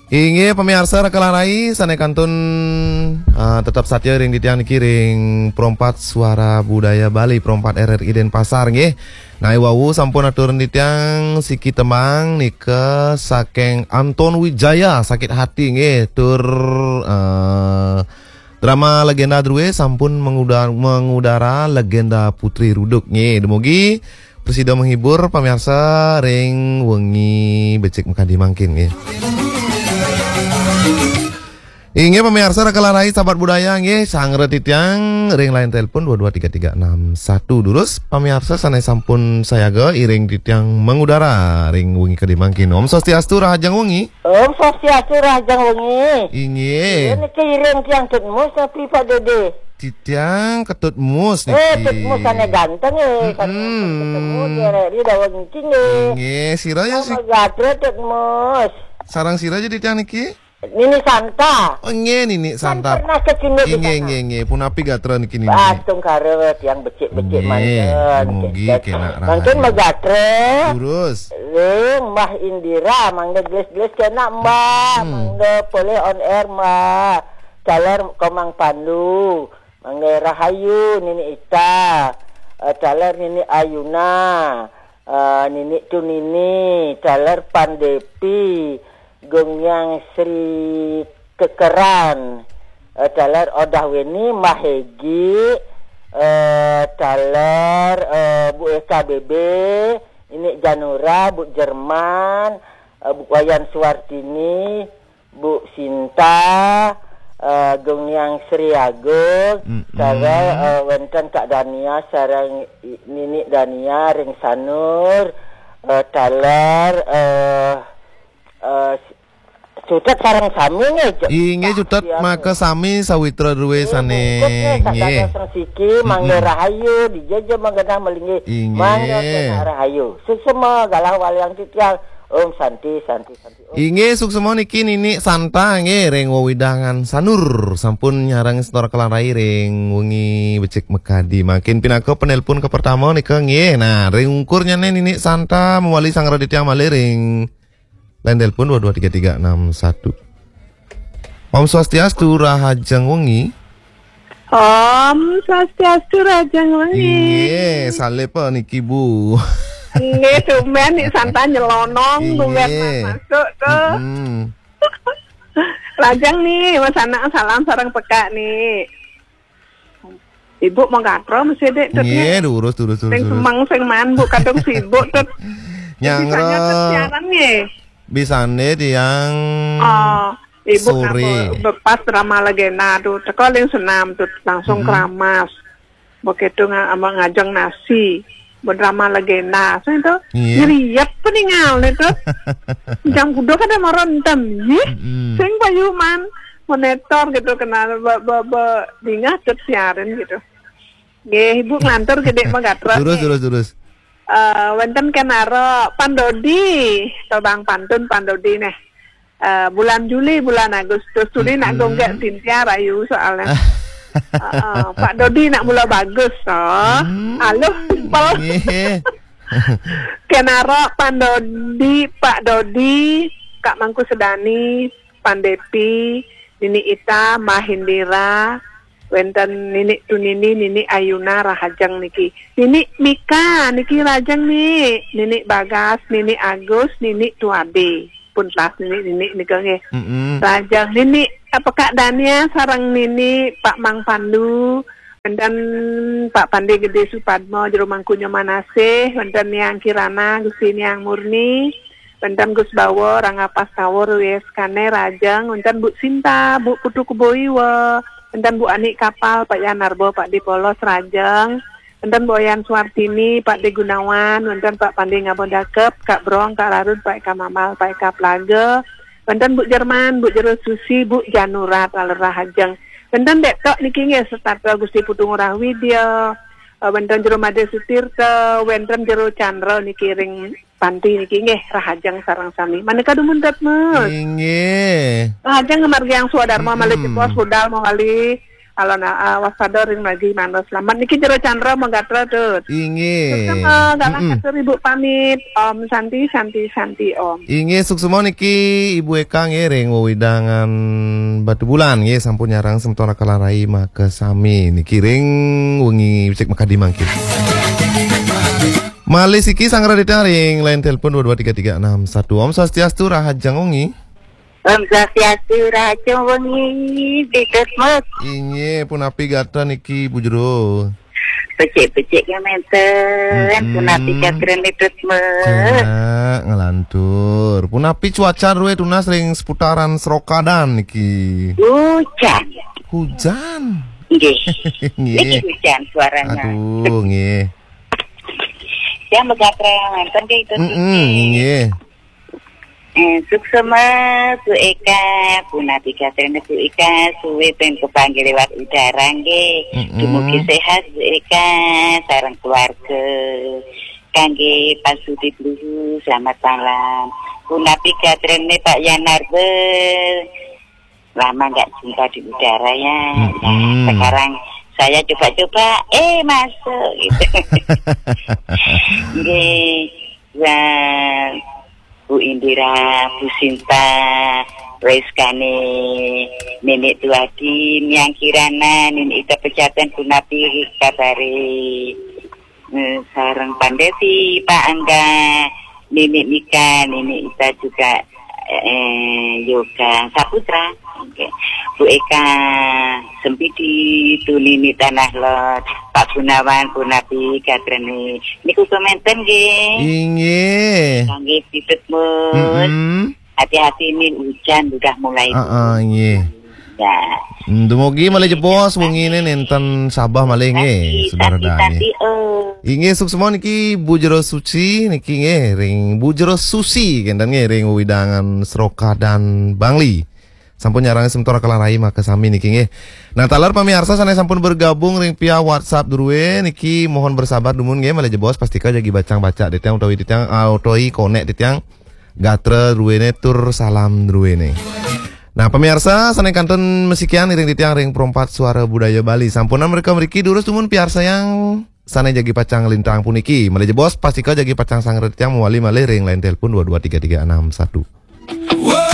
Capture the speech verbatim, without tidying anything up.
Inggih pamiarsa Raka lan Rai sané kantun ah, tetep satya ring titiang niki ring Pro empat Suara Budaya Bali, Pro empat R R I Denpasar nggih. Nah, wau sampun atur titiang siki tembang nika saking Anton Wijaya, Sakit Hati nggih, tur eh, drama legenda drué sampun menguda-, mengudara, legenda Putri Ruduk nggih. Dumugi prasida menghibur pamiarsa ring wengi becik makadi mangkin nggih. Inggih pamiarsa Raka lan Rai sahabat budaya nggih, sanggra titiang ring line telepon dua dua tiga tiga enam satu. Durus pamiarsa sané sampun sayaga iring titiang mengudara ring wengi kadi mangkin. Om Swastiastu, rahajeng wengi. Om Swastiastu, rahajeng wengi. Inggih. Iya, niki iring tiang Tut Mus tapi Pak Dede. Titiang Ketut Mus niki. Eh, Tut Mus sané ganteng eh. Kan Mm-mm. Ketemu dia di dawang niki nggih. Inggih, sira ya sih. Sama gatra Tut Mus. Sarang sira jadi tiang niki? Nini Santa. Oh, nggih, Nini Kan Santa. Pernah ke sini di Inggih, sana. Nggih, nggih. Punapi gatra niki Nini? Ah, tungkara tiang becik-becik Nggih, manten. Mugi Cek. Kena Mungkin rahayu. Megatra. Terus. Ring Mbah Indira, mangga gelis-gelis kena Mbah, Hmm. Mangga boleh on air Mbah. Caler Komang Pandu, mangga rahayu Nini Ita, eh, caler Nini Ayuna, eh, Nini Tunini, caler Pandepi, Gung Yang Sri Kekeran, eh, caler Odah Weni, Mbah Hegi, eh, caler eh, Bu Eka B B, Nini Janura, Bu Jerman, eh, Bu Wayan Suwartini, Bu Sinta, eh, Gung Yang Sri Agung, Mm-mm. Caler eh, wénten Kak Dania sareng I-, Nini Dania ring Sanur, eh, caler eh, eh, Cutet sareng sami nggih, Cek. Inggih, Cutet Siang. Maka sami sawitra drué Inggih, sané. Bungkus nggih, nggih. Sadaya sing siki, mangga Mm-mm. rahayu, dijaja manggenah malinggih. Inggih. Mangga kena rahayu. Suksema galah waliang titiang. Om Santi, Santi, Santi. Om. Inggih, suksema niki Nini Santa nggih ring wewidangan Sanur. Sampun nyareng setor kelarai ring wengi becik mekadi. Mangkin pinaka penelpon ke pertama nika nggih. Nah, ring ungkurnyané Nini Santa mawali sanggra titiang malih ring Line telepon dua dua tiga tiga enam satu. Om Swastiastu, rahajeng wengi. Om Swastiastu, rahajeng wengi. Inggih, salib niki, Bu. Nggih, tumben Nik Santa nyelonong, tumben Inggih. Masuk tuh. Mm-mm. Rahajeng nih, Mas Anak, salam sareng pekak nih. Ibu mau gatra mesti dek Tut, nggih, nggih. Durus, durus, durus, Sing durus. Semeng, sing man, Bu, kadung sibuk, Tut. Nyangra. Bisanya Tut siaran, nggih. Bisane tiang Oh, Ibu sore. Ngapa bepas drama legenda tuh. Teko ling senam tuh, langsung Mm-mm. keramas. Begitu nga-, ama ngajeng nasi. Drama legenda. Sing to? Iya. Ngeriep peningal nih to. Jam kudo kada marontem, yih. Mm-mm. Sing payuman monitor gitu kenal be, be, be, dingah ket siaran gitu. Nggih, Ibu nglantur gede magatra. Terus, nggih. Terus, terus. Eh, wenten kenaro Pandodi, tobang pantun Pandodi neh. Eh, bulan Juli, bulan Agustus. Juli nak Mm-mm. gonggak Cynthia rayu soalnya. Heeh, Pak Dodi nak mula bagus, toh. Hmm. Aluh, simpel. Nggih. Kenaro Pandodi, Pak Dodi, Kak Mangku Sedani, Pandepi, Nini Ita, Mbah Indira, wenten Nini Tunini, Nini Ayuna, rahajeng niki. Nini Mika, niki rahajeng ni. Nini Bagas, Nini Agus, Nini Tuade. Pun telas Nini, Nini nika nggih. Mm-mm. Rahajeng Nini, apa Kak Dania, sareng Nini Pak Mang Pandu, wenten Pak Pande Gede Supadmo, Jero Mangkunya Manasih, wenten Niang Kirana, Gusti Niang Murni, wenten Gus Bawo, Rangga Pastawo, Ruwes Kane, rahajeng, wenten Bu Sinta, Bu Putu Kuboiwa, wenten Bu Ani Kapal, Pak Yan Narbo, Pak Dipolos, rahajeng, wenten Bu Oyan Suartini, Pak De Gunawan, wenten Pak Pande Ngabon Dakep, Kak Brong, Kak Rarud, Pak Eka Mamal, Pak Eka Plaga, wenten Bu Jerman, Bu Jero Susi, Bu Janura, taler rahajeng. Wenten dek tok niki nggih setata Gusti Putu Ngurah Widya, eh, wenten Jero Made Sutirta, wenten Jero Chandra niki ring panti niki nggih rahajeng sareng sami. Maneka dumun tet, Mas. Inggih. Rahajeng ngamargiang swadarma malih Mm-mm. cepos budal mawali Kalau na, ah, waspada ring margi manah slamet. Niki Jero Chandra Megatra, Tut. Inggih. Suksma, galah atur Ibu pamit. Om Santi, Santi, Santi, Om. Inggih, suksma niki Ibu Eka nggih ring wewidangan Batubulan nggih, sampun nyarengin semeton Raka Rai makasami niki ring wengi becik makadi mangkin. Malih siki sanggra titiang ring line telepon dua dua tiga tiga enam satu. Om Swastiastu, rahajeng wengi. Om Swastiastu, rahajeng wengi, Bidut Mut. Inggih, punapi gatra niki, Bu Jero? Becik-becik ya menten, punapi gatra, Bidut Mut? Cak, nglantur. Punapi cuaca drué tunas ring seputaran Serokadan niki? Hujan. Hujan? Nggih. Nggih. Niki hujan suaranya. Aduh, nggih. Yang begatra menten nggih, Bidut Mut? Mm-mm, nggih. Eh, suksma, Bu Eka, punapi gatrané Bu Eka, sué ten kapanggih liwat udara nggih. Mm-mm. Dumugi sehat Bu Eka, sareng keluarga. Kangge Pak Sudi Bluhu, selamat malam. Punapi gatrané Pak Yanarbe? Lama nggak jumpa di udara ya. Nah, sekarang saya coba-coba, eh, masuk gitu. Nggih, ya, Bu Indira, Bu Sinta, Reskane, Nenek Tuadi, Miang Kirana, Nenek Ita Pejaten, punapi kabare? Eh, sareng Pandesi, Pak Angga, Nenek Mika, Nenek Ita juga, eh, Yoga Saputra. Oke. Bu Eka, Sempidi, Tunini Tanah Lot, Pak Gunawan, punapi gatrané? Niku kemanten nggih. Inggih. Kangge Bidut Mut. Mm-mm. Hati-hati nih, hujan udah mulai turun. Heeh, nggih. Ya. Hmm, dumugi malih jebos wengine nenten sabeh malih nggih, Saudara Dani. Inggih, suksma niki Bu Jero Suci niki nggih, ring Bu Jero Susi kenten nggih, ring wewidangan Serokadan Bangli. Sampun nyarengin semeton Raka Rai makasami niki nggih. Nah, taler pamiarsa sane sampun bergabung ring via WhatsApp druwe niki mohon bersabar dumun nggih, malih jebos pastika jagi bacang-bacang titiang utawi titiang, ah, utawi konek titiang gatra druwene tur salam druwene. Nah, pamiarsa sane kantun masikian iring titiang ring Perempat Suara Budaya Bali. Sampunang mereka mriki durus dumun piarsayang sane jagi pacang lintang puniki. Malih jebos pastika jagi pacang sanggra titiang mawali malih ring line telepon dua dua tiga tiga enam satu.